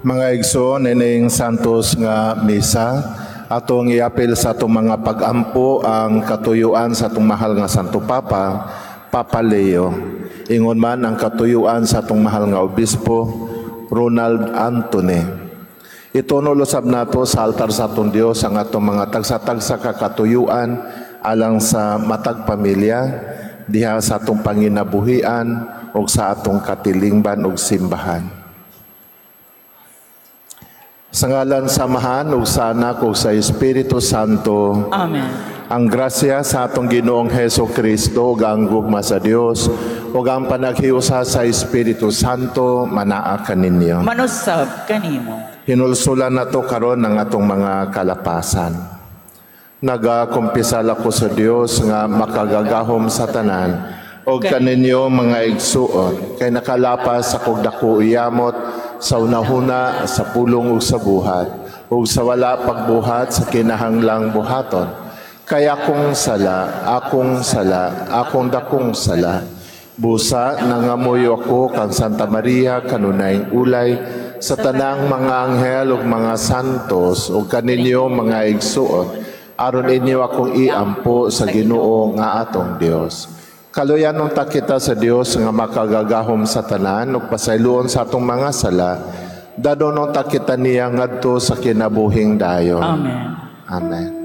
Mga igsoon, ining santos nga misa, atong iapil sa atong mga pagampo ang katuyuan sa atong mahal nga Santo Papa, Papa Leo. Ingon man ang katuyuan sa atong mahal nga Obispo, Ronald Anthony. Ituno usab nato sa altar sa atong Dios ang atong mga tagsa-tagsa ka katuyuan alang sa matag pamilya, diha sa atong panginabuhian ug sa atong katilingban ug simbahan. Sa ngalan sa Amahan ug sa Anak ug sa Espiritu Santo. Amen. Ang grasya sa atong Ginoong Heso Kristo ug ang gugma sa Dios ug ang panaghiusa sa Espiritu Santo manaa kaninyo. Manusab kanimo. Hinulsulan nato karon ang atong mga kalapasan. Nagakumpisal ako sa Dios nga makagagahom sa tanan ug kaninyo, mga igsuon, kay nakalapas akog dako yamot sa hunahuna, sa pulong ug sa buhat ug sa wala pagbuhat sa kinahanglang buhaton. Kay akong sala, akong sala, akong dakong sala. Busa, nangamuyo ako kang Santa Maria, kanunayng ulay, sa tanang mga anghel ug mga santos ug kaninyo, mga igsuon, aron inyo akong iampo sa Ginoo nga atong Dios. Kaluyanon ta kita sa Dios nga makagagahom sa tanan ug pasayloon sa atong mga sala. Dadonon ta kita niya ngadto sa kinabuhing dayon. Amen. Amen.